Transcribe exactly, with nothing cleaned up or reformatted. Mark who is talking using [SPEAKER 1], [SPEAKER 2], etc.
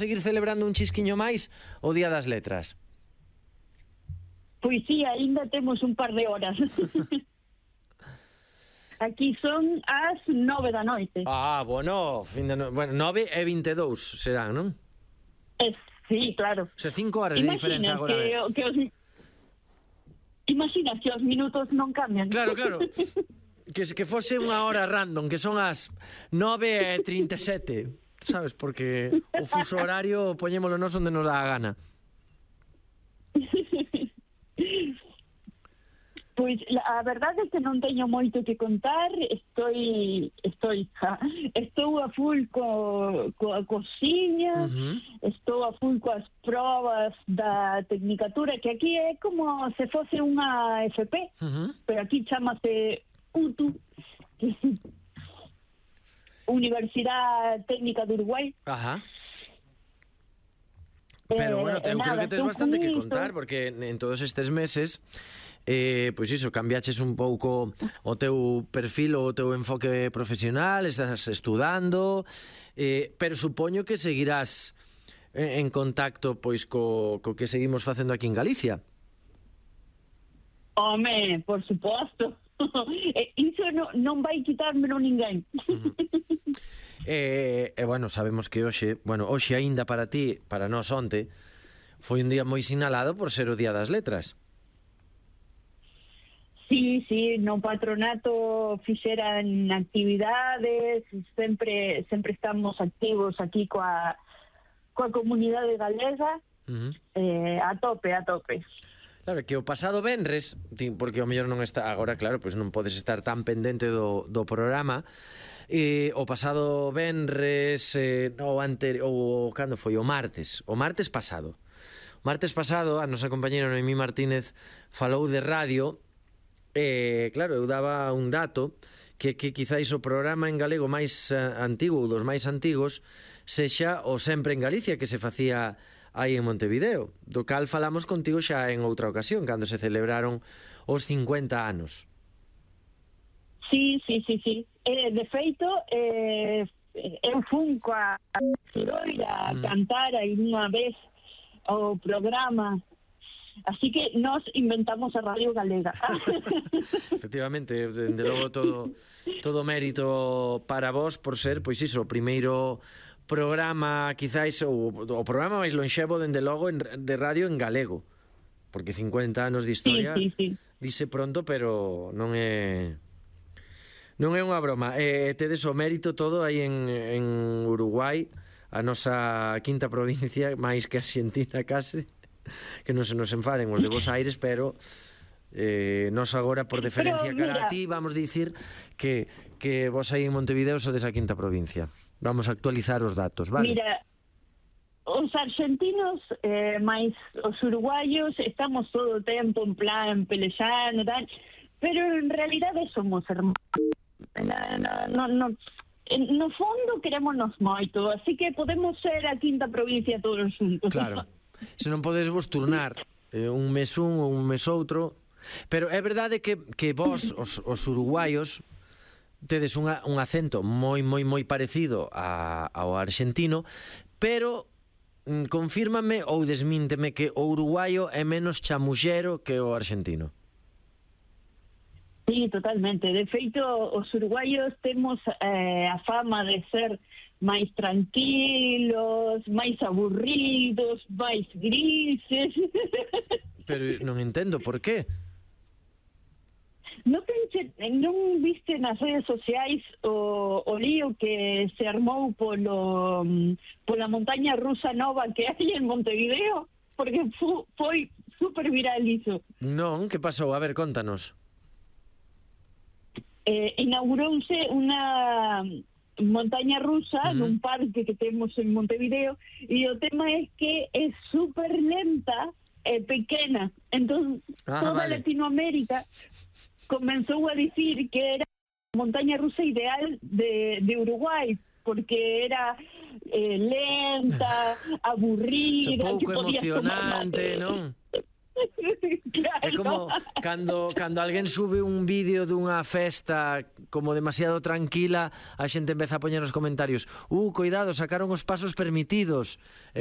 [SPEAKER 1] seguir celebrando un chisquiño máis o Día das Letras?
[SPEAKER 2] Pois sí, ainda temos un par de horas. Aquí son as nove da noite.
[SPEAKER 1] Ah, bueno, fin de no... bueno, nove e vinte e dous serán, non?
[SPEAKER 2] Eh, sí, claro.
[SPEAKER 1] Se cinco horas de diferenza agora.
[SPEAKER 2] Que, que os... Imaginas que os minutos non cambian.
[SPEAKER 1] Claro, claro. Que, que fose unha hora random, que son as nove e trinta e sete, sabes? Porque o fuso horario poñémolo nos onde nos dá a gana.
[SPEAKER 2] Pois a verdade é que non teño moito que contar. Estoy estoy estou a full co, coa cociña, uh-huh. Estou a full coas probas da tecnicatura, que aquí é como se fose unha F P, uh-huh. Pero aquí chamase U T U, Universidade Técnica de Uruguai.
[SPEAKER 1] Ajá. Pero bueno, eu creo que tes bastante que contar, porque en todos estes meses eh, pois iso, cambiaches un pouco o teu perfil, o teu enfoque profesional, estás estudando, eh, pero supoño que seguirás en contacto pois co, co que seguimos facendo aquí en Galicia.
[SPEAKER 2] Home, por suposto. Iso non, non vai quitármelo ninguén.
[SPEAKER 1] Uh-huh. E, e bueno, sabemos que hoxe, bueno, hoxe aínda para ti, para nós onte, foi un día moi sinalado por ser o Día das Letras.
[SPEAKER 2] Sí, sí, no patronato fixeran actividades, sempre sempre estamos activos aquí coa coa comunidade galega, uh-huh. eh, a tope, a tope.
[SPEAKER 1] Claro, que o pasado venres, porque o mellor non está agora, claro, pois non podes estar tan pendente do, do programa. E o pasado venres, eh, o anterior, o cando foi o martes, o martes pasado. O martes pasado a nosa compañera Noemí Martínez falou de radio. E, claro, eu daba un dato que, que quizáis o programa en galego máis uh, antigo, ou dos máis antigos, sexa o Sempre en Galicia, que se facía aí en Montevideo, do cal falamos contigo xa en outra ocasión, cando se celebraron os cincuenta anos.
[SPEAKER 2] Sí, sí, sí, sí. Eh, de feito, eh, eu fun coa Ciroira a mm. cantar aí unha vez o programa. Así que nos inventamos a Radio Galega.
[SPEAKER 1] Efectivamente, dende logo todo todo mérito para vos por ser, pois iso, o primeiro programa, quizáis o, o programa máis lonxevo dende logo en, de radio en galego. Porque cincuenta anos de historia, sí, sí, sí. Dice pronto, pero non é non é unha broma. Eh, tedes o mérito todo aí en, en Uruguai, a nosa quinta provincia, máis que Argentina case. Que non se nos enfaden os de Bos Aires, pero eh, nos agora por deferencia cara a ti vamos dicir que, que vos aí en Montevideo sodes a quinta provincia. Vamos a actualizar os datos, vale?
[SPEAKER 2] Mira, os argentinos eh, máis os uruguayos estamos todo o tempo en plan pelexando, tal, pero en realidade somos hermanos. No, no, no, no fondo querémonos moito, así que podemos ser a quinta provincia todos juntos.
[SPEAKER 1] Claro. Se non podes vos turnar eh, un mes un ou un mes outro. Pero é verdade que, que vos, os, os uruguaios, tedes unha, un acento moi, moi, moi parecido a, ao argentino, pero mm, confírmame ou desmínteme que o uruguaio é menos chamullero que o argentino.
[SPEAKER 2] Sí, totalmente. De feito, os uruguaios temos eh, a fama de ser máis tranquilos, máis aburridos, máis grises.
[SPEAKER 1] Pero non entendo por qué.
[SPEAKER 2] Non, pense, non viste nas redes sociais o, o lío que se armou polo, pola montaña rusa nova que hai en Montevideo? Porque fu, foi super viral iso.
[SPEAKER 1] Non, que pasou? A ver, contanos.
[SPEAKER 2] Eh, inaugurouse unha montaña rusa, uh-huh, nun parque que temos en Montevideo, e o tema é que é super lenta e pequena. Entón, ah, toda vale. Latinoamérica comenzou a dicir que era a montaña rusa ideal de, de Uruguai, porque era eh, lenta, aburrida,
[SPEAKER 1] pouco emocionante, non?
[SPEAKER 2] Claro.
[SPEAKER 1] É como cando, cando alguén sube un vídeo dunha festa como demasiado tranquila, a xente empeza a poñer nos comentarios: uh, cuidado, sacaron os pasos permitidos.